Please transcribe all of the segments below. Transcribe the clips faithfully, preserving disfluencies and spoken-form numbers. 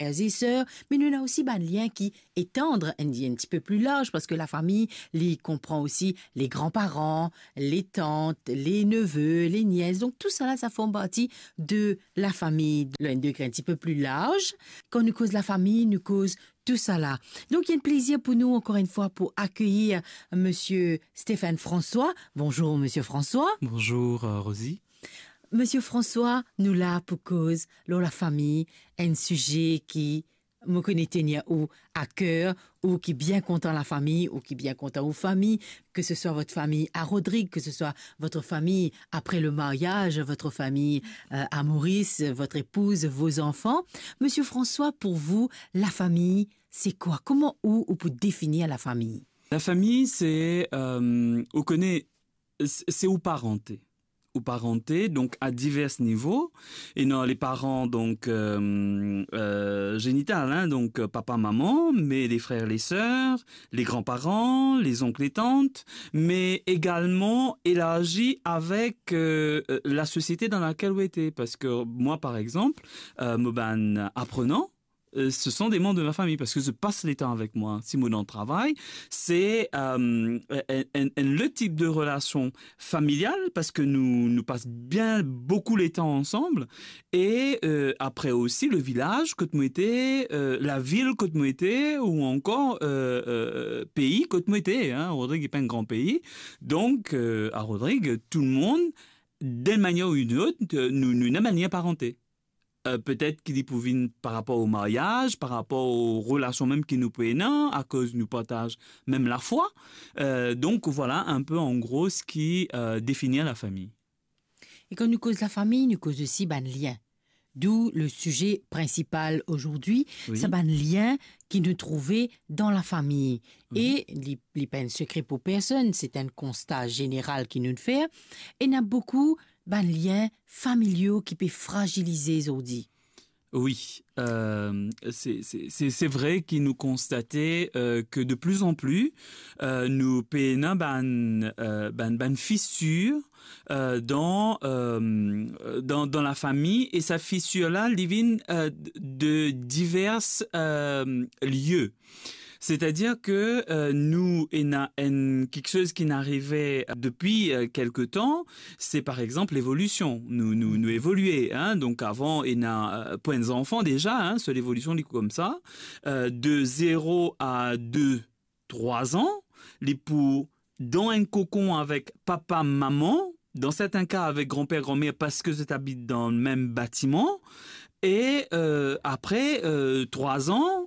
frères et sœurs, me nou ena osi bann lien ki etand, enn, enn tipe pli larz, parski lafami, li konpran osi les grands-parents, les tantes, les neveux, les nièces. Donk, tousala, sa form parti de lafami. Dan enn degre enn tipe pli larz, kan nou koz lafami, nou koz tousala. Donk, li enn plezir pou nou, ankor enn fwa, pou akeyir Monsieur Stéphane François. Bonjour, Monsieur François. Bonjour, euh, Rosie. Monsieur François, nou la pou koz lor lafami, enn size ki mo kone tenir ou a ker, ou ki bien kontan lafami, ou ki bien kontan ou fami, que ce soit votre famille à Rodrigue, que ce soit votre famille après le mariage, votre famille, euh, à Maurice, votre épouse, vos enfants. Monsieur François, pour vous, lafami, se kwa? Kouma ou, ou pou definir lafami? Lafami, se, euh, ou kone, se, se ou parante. Ou parante, donk, a divers nivo. Ena les parents, donk, euh, euh, génital, hein, donk, euh, papa, maman, me les frères, les sœurs, les grands-parents, les oncles et tantes, me egalman elarzi avek, euh, euh, lasosiete dan lakel ou ete. Parski mwa, par exanp, euh, mo bann aprenan, euh, ce sont des membres de ma famille, parski zot pas letan avek mwa. Si mo dan travay, se, euh, enn, enn, enn lot tip de relasion familial, parski nou, nou pas bien boukou letan ansam. E, euh, apre osi, le vilaz kot mo ete, euh, lavil kot mo ete, ou ankor, euh, euh, pei kot mo ete, hein. Rodrig, li pa enn gran pei. Donk, euh, a Rodrig, tou lemonn, d'enn manier ou enn lot, euh, nou, nou ena bann lien parante. Euh, petet ki li pou vinn par rapor o maryaz, par rapor o relasion mem ki nou pou ena, akoz nou partaz mem lafwa. Euh, donk, vwala enn pe, an gro, seki, euh, definir lafami. E kan nou koz lafami, nou koz osi bann lien. D'où le sujet principal aujourd'hui, oui, sa bann lien ki nou trouve dan lafami. Oui. E li, li pa enn sekre pou personn, se enn konsta zeneral ki nou fer. Ena boukou bann lien familial ki pe frazilize zordi. Oui, euh, se, se, se, se vre ki nou konstate, euh, ke de plus en plus, euh, nou pe ena bann, euh, bann, bann fisir, euh, dan, euh, dan, dan lafami, e sa fisir la, li vinn, euh, de divers, euh, lie. Setadir ke, euh, nou ena enn kiksoz ki inn arive depi, euh, kelke tan, se par exanp levolision. Nou, nou, nou evolie, hein. Donk avan, ena, euh, pou enn zanfan deza, hein, so levolision li koumsa, euh, de zero a de, trwa an, li pou dan enn kokon avek papa, mama, dan sertin ka avek granper, granmer, parski zot abit dan mem batiman. E, euh, apre, euh, trwa an,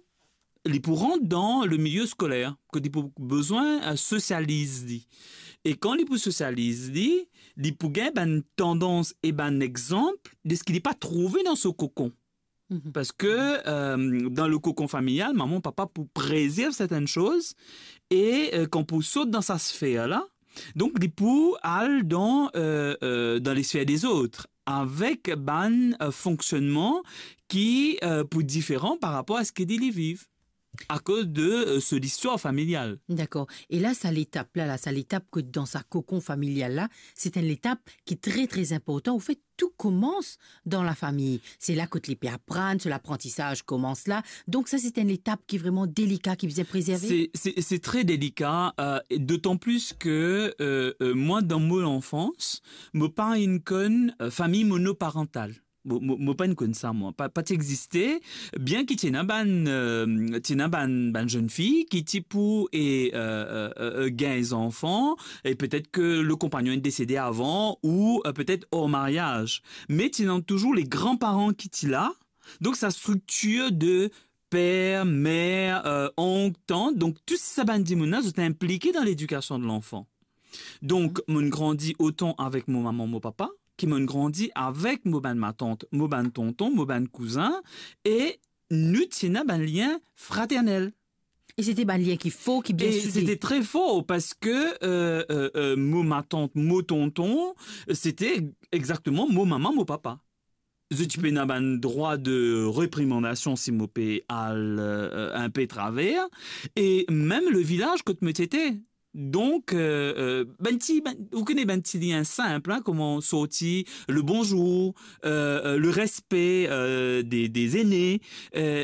li pou rant dan le milie skoler, kot li pou bizin, euh, sosializ li. E kan li pou sosializ li, li pou gagn bann tandans e bann exanp de seki li pa trouve dan so kokon. Mhm. Parski, euh, dan le kokon familial, mama, papa pou prezerv sertin soz e, euh, kan pou sot dan sa sfer la, donk li pou al dan, euh, euh, dan lesfer dezot, avek bann, euh, fonksionnman ki, euh, pou diferan par rapor a seki li, li viv, akoz de, euh, so listwar familial. Dakor. E la, sa letap la, la, sa letap ki dan sa kokon familial la, se enn letap ki tre, tre inportan. Anfet, tou koumans dan lafami. Se la kot li pe aprann, so laprantisaz koumans la. Donk sa, se enn letap ki vreman delika, ki bizin prezerve. Se, se, se tre delika, euh, e dotan plis ke, euh, euh, mwa, dan mo lanfans, mo pa inn konn, euh, fami monoparantal. Mo, mo, mo pa inn konn sa, mwa. Pa, pa ti existe, bien ki ti ena bann, euh, ti ena bann, bann zenn fi ki ti pou e, euh, euh, euh, gagn zanfan, e petet ke le konpagnon inn desede avan, ou, euh, petet or maryaz. Me ti ena touzour le granparan ki ti la. Donk sa striktir de per, mer, euh, onk, tant, donk tou sa bann dimoun la, zot inplike dan ledikasion de lanfan. Donk, mo'nn grandi otan avek mo mama, mo papa, ki mo'nn grandi avek mo bann matant, mo bann tonton, mo bann kouzin, e nou ti ena bann lien fraternel. E se ti bann lien ki for, ki bien soudé. E se ti tre for, parski, euh, euh, euh, mo matant, mo tonton, se ti exakteman mo mama, mo papa. Zot ti pena bann drwa de reprimandasion si mo pe al, euh, inpe traver, e mem le vilaz kot mo ti ete. Donk, euh, euh, bann ti, bann, ou kone bann ti lien sinp, hein, kouma sorti, le bonzour, euh, euh, le respe, euh, de, de zene, euh,